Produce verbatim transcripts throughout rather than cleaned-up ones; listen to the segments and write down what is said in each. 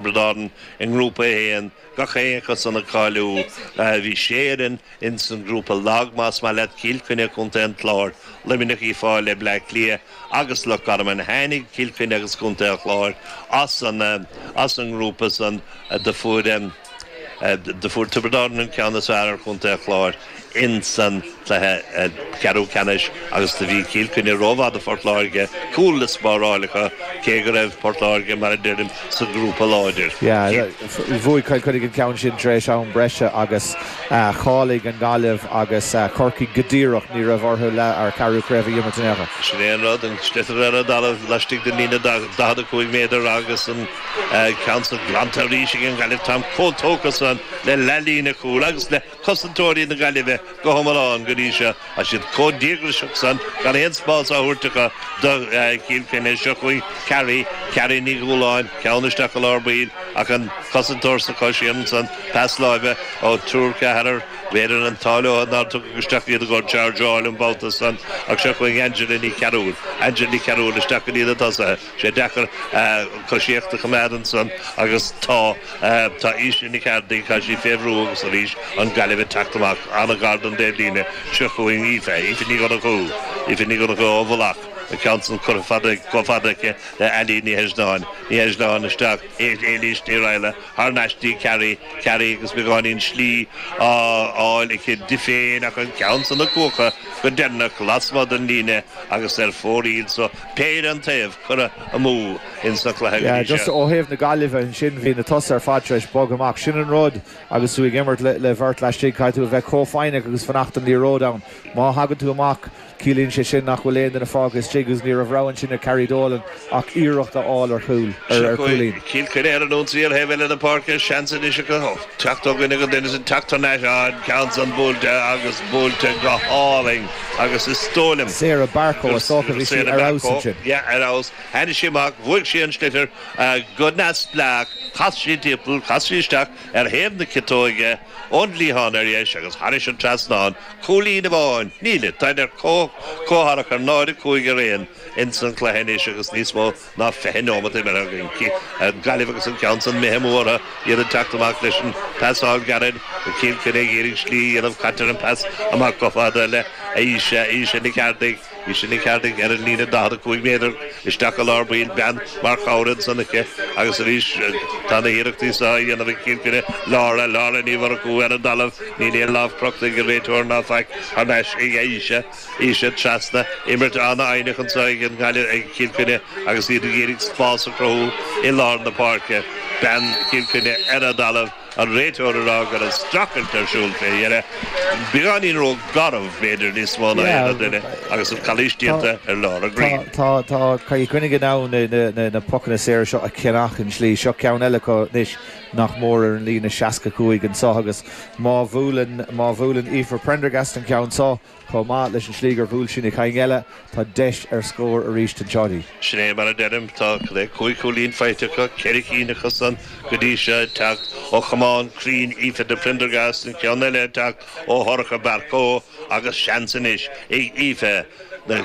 Tiobraid Árann i ngrúpa a haon, gach aon acu san ag cáiliú. Bhí sé fhoireann ins an ngrúpa lag, más maith leat, Cill Chainnigh, Contae an Chláir, Luimneach, Uíbh Fhailí, Bleá Cliath agus Loch Garman. Tháinig Cill Chainnigh agus Contae an Chláir as an as an ngrúpa san. Do fuair do fuair Tiobraid Árann an ceann is fearr ar Chontae an Chláir ins an cluiche ceathrú ceannais agus do bhí Cill Chainnigh rómhaith do Phort Láirge, cúl le spáráil acu, cé go raibh Port Láirge, mar a deirim, sa ghrúpa láidir. Yeah, bhuaigh Cill Chainnigh an ceann sin tar éis am breise agus cháiligh an Ghaillimh agus Corcaigh go díreach, ní raibh orthu leath ar ceathrú craobh a imirt in aon chor. Sin é an rud, an sliotar ar an dtalamh laistigh den líne daichead a cúig méadar agus an ceann san glanta arís ag an Ghaillimh. Táim chomh tógtha san le leathlíne chúil agus le cosantóirí na Gaillimhe go hiomlán go dtí seo. Tá siad chomh díograiseach san gan aon spás á thabhairt acu do Chill Chainnigh. Seo chugainn Carrie, Carrie Ní Dhúláin, ceann isteach i lár baill ach an cosantóir sa chois ansan, pas láimhe ó triúr ceathrar, b'fhéidir an t-ádh leo nár tugadh isteach iad i gcomhair chargeáil an babhta san ach seo chugainn Angela Ní Chearúil, Angela Ní Chearúil isteach go dtí na tosaithe. Sé deacair coisíocht a choimeád ansan agus tá tá Aoise Nic Ardaigh, tá sí fé bhrú agus arís an Ghaillimh ag teacht amach an-ghar don dtaobhlíne. Seo chugainn Aoife, Aoife Ní Dhonnchú, Aoife Ní Dhonnchú ó Mhullach, an ceann san curtha fada, chomh fada aici le Ailín Ní Heisneáin, Ní Heisneáin isteach, Éilís Ní Raghallaigh thar n-ais dtí Carrie, Carrie agus beagáinín slí á fháil aici di féin ach an ceann san ag cuachadh go deireanach lasmuigh den líne agus ar fóraoil so péire an taobh curtha amú ins an chluiche go Yeah, dtí just seo. ó thaobh na Gaillimhe ansin bhí na tosaithe ar fad tar éis bogadh amach. Sin an rud agus tú ag imirt le, le bheirt laistigh, caithfidh tú a bheith chomh foighneach agus fanacht an liathróid ann. Má thagann tú amach, ciallaíonn sé sin nach bhfuil aon duine fágtha istigh agus ní raibh rogha ansin ag Carrie Dolan ach iarracht a fháil ar chúl, ar, ar chúilín. Cill Chainnigh ar an ionsaí ar thaobh eile na páirce, seans anois acu teacht ó dhuine go duine san teacht thar n-ais an ceann san buailte agus buailte go hálainn agus is dóigh liom Sarah Barco is dócha bhí sí ar fheabhas ansin. Yeah, ar fheabhas. Tháinig sí amach, bhuaigh sí an sliotar go neamhspleách, chas sí timpeall, chas sí isteach ar thaobh na ciotóige ón gcliathán ar dheis agus thairis an trasnán, cúilín amháin, níl, tá ar comhtharach ar náid a cúig ar aon ins an chluiche anois agus níos mó ná fiche nóiméad imeartha againn. Gaillimh agus an ceann san imithe amú orthu, iad ag teacht amach leis an pasáil gairid, Cill Chainnigh ag iarraidh slí a dhéanamh, caitear an pas amach go fada le Aoise, Aoise Nic Ardaigh, Aoise Nic Ardaigh ar an líne daichead a cúig méadar isteach i lár baill, bean mar chabhair ansan aici agus arís tá na hiarrachtaí seo á dhéanamh ag Cill Chainnigh, Laura, Laura Ní Mhurchú ar an dtalamh, níl aon lámh crochta ag an réiteoir ná faic thar n-ais ag Aoise, Aoise trasna, imirt an-fhoighneach anseo ag an nGaillimh ag Cill Chainnigh agus iad ag iarraidh spás a chruthú i lár na páirce. Bean Chill Chainnigh ar an dtalamh, an réiteoir ag rá go raibh streachailt ar siúl fé dheireadh. Beagáinín ró-gharbh b'fhéidir níos mó ná aon duine agus an calaois déanta ar Laura Green. Tá tá Cill Chainnigh in ann na na na pocanna saora seo a cheannach an slí seo ceann eile acu anois nach mór ar an líne seasca cúig anseo agus má bhuaileann má bhuaileann Aoife Prendergast an ceann seo chomh maith leis an slí gur bhuail sí na cinn eile tá deis ar scór arís anseo. Sin é mar a deirim tá le cúig chúilín faighte acu ceithre cinn acu san go dtí seo ag teacht ó chamán cruinn Aoife de Prendergast an ceann eile ag teacht ó Shorcha Barco agus seans anois ag Aoife na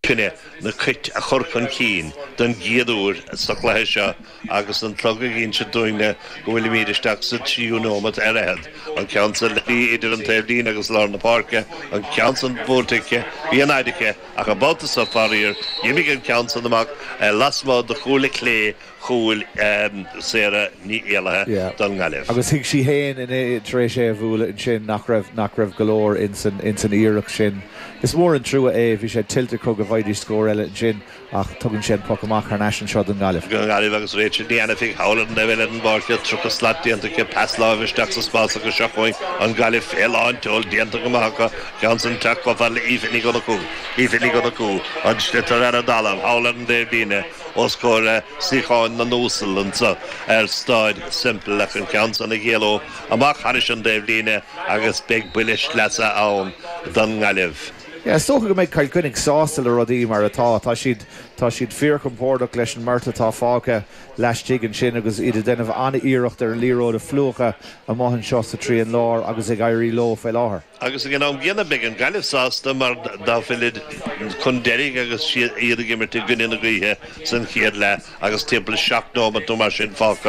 Chainnigh na Cait a chur chun cinn don gcéad uair sa chluiche seo agus an clog ag inse dúinne go bhfuilimid isteach sa tríú nóiméad ar fhichead. An ceann san le idir an taobhlíne agus lár na páirce, an ceann san buailte aici, bhí an fhaid aici ach an babhta seo faraor, d'imigh an ceann san amach lasmuigh de chúl clé chúil Sarah Ní Éalaithe don nGaillimh. Agus thuig sí féin tar éis é a bhualadh ansin nach raibh nach raibh go leor insan insan iarracht sin. Is mór an trua é bhí sé tuillte acu go bhfaighidís scór eile ansin ach tugann sé an poc amach thar n-ais anseo don Ghaillimh. Don Ghaillimh agus Rachel Ní Ainifigh thall ar an eile den bpáirc tríocha slat déanta aici pas láimhe isteach sa spás agus seo chugainn an Ghaillimh fé lán tseoil déanta go maith acu ceann san teacht chomh fada le Aoife Ní Dhonnchú Aoife Ní Dhonnchú an sliotar ar an dtalamh thall ar an dtaobhlíne os comhair suíocháin na n-uasal anseo ar Staid Semple ach an ceann san ag éaló amach thairis an dtaobhlíne agus beidh buille sleasa ann don nGaillimh. Yeah, is dócha go mbeidh Cill Chainnigh sásta le rudaí mar atá tá siad tá siad fíorchompordach leis an mbeart atá fágtha laistigh ansin agus iad ag déanamh an-iarracht ar an liathróid a phlúchadh amach anseo sa trian láir agus ag éirí leo fé láthair. Agus ag an am gcéanna beidh an Ghaillimh sásta mar dá bhfuilid chun deiridh agus iad ag imirt i gcoinne na gaoithe san chéad leath agus timpeall seacht nóiméad nó mar sin fágtha.